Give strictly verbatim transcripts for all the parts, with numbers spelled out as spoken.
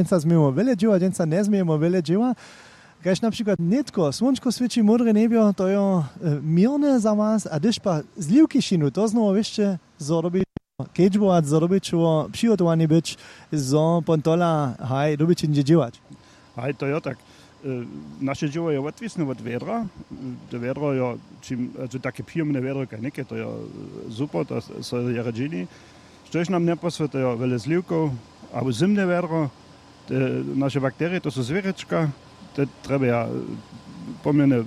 Dźensa změjemy wjele dźěła, dźensa njezmějemy wjele dźěła. Kaž na přikład nětko słónčko swěći, módre njebjo, to jo, e, měrne za was, a hdyž pa zliwki šinu, to znowu wěsće, zo dobi kedźbować, zo dobi ćeło přihotowani być, zo pon tola haj dobi ći hnydźe dźěłać. Haj, to jo tak. E, naše dźěło je wotwisne wot wjedra. To wjedro jo, čim, also take přijomne wjedro kaž něke, to jo, e, super, to so je rjedźeni. Štož nam njeposłětujo wjele zliwkow, abo zymne wjedro, te naše bakterije, to su zwěrječka, te trjebja, e, pomjene, e,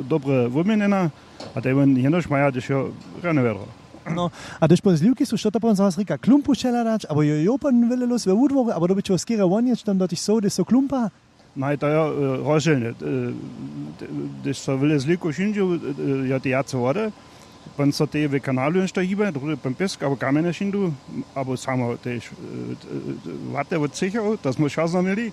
dobre wuměnjena, a te wón jenož maja, hdyž jo rjane wjedro. No, a hdyž pon zliwki su, što to pon za was rěka? Klumpu přehladać, abo jo, jo pon wjele lós we wudworu, abo dobyć ho skerje wonjeć tam do tych sow, hdyž so klumpa? Naj, to jo, e, rozdźělnje. E, te-, hdyž so wjele zliwkow šindźu, e, jo, te wjace wody, pon so tej w kanalu něšto hibe, druhdy pon pěsk abo kamjene šindu, abo samo tež, e, t-, e, waty wot třěchow, to smy wšazno měli.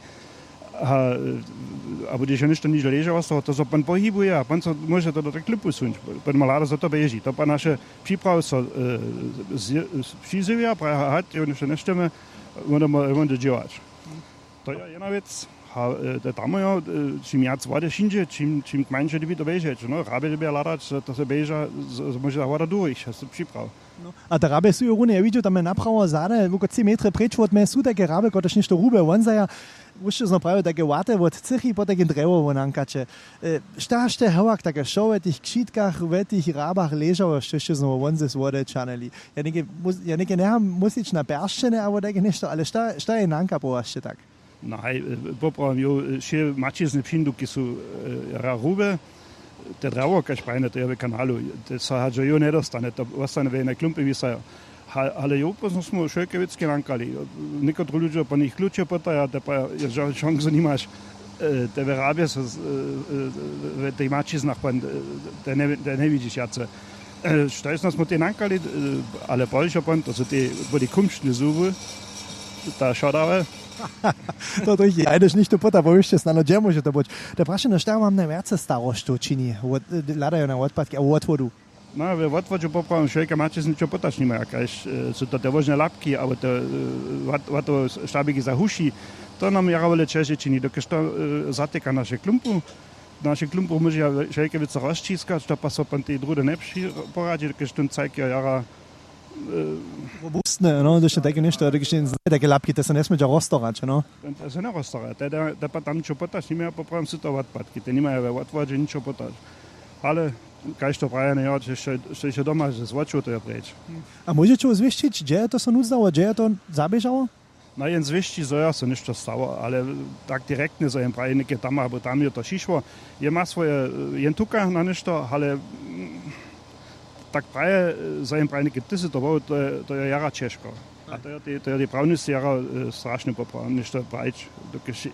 A, e, abo hdyž jo něšto nižo ležało z toho, to so pon pohibuje a pon so móže to do tych klumpu suńć. Pon ma hlada, zo to běži. To pa naše připrawy so, e, z-, z-, přizjewja, praja, aha, to něšto njesćemy, wón, wón dźěłać. To je jedna wěc. A, e, te tam jo, e, čim wjac wody šindźe, čim, čim kmańše dyrbji to běžeć, no, hrabje dyrbja hladać, to se běža, z-, z-, móže ta woda durich, ja so připraw. No, a te hrabje su jo runje, ja widźu, tam je naprawo zady, woko tři metry preč wot mje su tajke hrabje, kotrež něšto hrube wonzaja. Wósće znowu prawił, tajke waty wot třěchi, po tajkim drjewo wonankaće. E, šta sće hewak take wšo we tych křitkach, we tych hrabach ležało, što sće znowu won z wody čanili? Ja něke mus-, ja něke njecham myslić na pjeršćene abo tajke něšto, ale šta, šta je nanka po was sće tak? No haj, e, poprawom, jo, e, wšě maćizny přińdu, kiž su, e, jara hrube, te drjewo, kaž prajene, to je w kanalu, te so hač jo njedostane, to wostane w jednej klumpje wisajo. Ha-, ale jo, pózdno smy wšelke wěcki nankali. Někotry ludźo po nich kluče pytaja, te pa, jo, žo-, šansu nimaš, e, te we hrabje so z-, e, e, w tych maćiznach, pan, e, te nje-, te njewidźiš wjace. E, štož nas smy tej nankali, e, ale pozdźišo pon, to su te, byli kumštne zuby, ta šodawe. To, to jich, a hdyž něchtó pyta, powišće snano, hdźe móže to być. To je prašeno, šta wam najwjace staroštow čini? Wot-, hladajo na wotpadki abo wotwodu? No, we wotwodźu poprawom, wšelke maće z něčeho pytać nima, kaž, e, su to te wóžne lapki, abo te, e, wat-, watowe štabiki za huši. To nam jara wjele ćeže čini, dokelž to, e, zatyka naše klumpu. Naše klumpu móže ja wšelke wěcy rozćiskać, to pa so pon tej druhdy njepři-, poradźi, dokelž tón cajk jo jara, e, robustne, no, to je tajke něšto, to je tajke lapki, te so njesmědźa roztorać, no. Ten, ten se njeroztara, te, te, te pa tam ničo pytać, nimaja poprawom, su to wotpadki, te nimaja we wotwodźe ničo pytać. Ale kaž to prajene, jo, što, što je doma, z wočow to je preč. A móžeće wój zwěsćić, hdźe je to so nuzdało, hdźe je to zaběžało? No, jen zwěsći, zo jo so něšto stało, ale tak direktnje, zo jen praji něke tam abo tam je to přišło. Jen ma swoje, e, jen tuka na něšto, ale, mm, tak praje, e, zo jen praji něke, ty sy to był, to je, to je jara ćežko. A to je tej, to je tej prawnicy jara, e, strašne poprawom, něšto prajić, dokelž, e,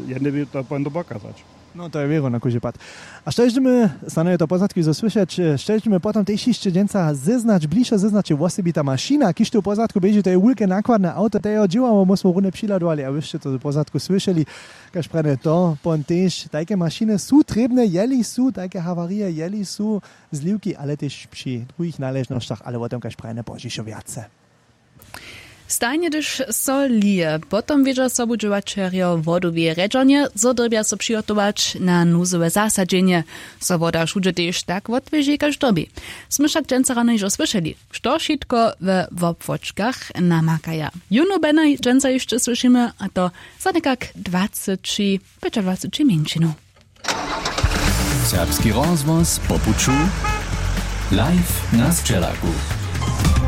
jedne by to pon do boka zać. No, to je wěro na kóždy pad. A što dźemy, snano je to pozadki zo słyšeć, e, što dźemy potom tež hišće dźensa zeznać, bližo zeznać, je wosebita mašina, kiž tu w pozadku běži, to je wulke nakładne awto, to je jeho dźěłało, my smo runje přihladowali a wy sće to w pozadku słyšeli. Kaž prajene, to pon tež, tajke mašiny su trěbne, jeli su tajke hawarije, jeli su zliwki, ale tež při druhich naležnosćach, ale wo tym kaž prajene pozdźišo wjace. Stajnje hdyž so lije, potom wědźa sobudźěłaćerjo wodoweje rjedźernje, zo dyrbja so přihotować na nuzowe zasadźenje. So woda wšudźe tež tak wotwěži kaž dyrbi. Smy wšak dźensa rano hižo słyšeli, što wšitko we wobłóčkach namakaja. Jónu Bena dźensa hišće słyšimy, a to za někak dwaceći pjećadwaceći mjeńšinow. Serbski rozhłos po puću, live na sćelaku.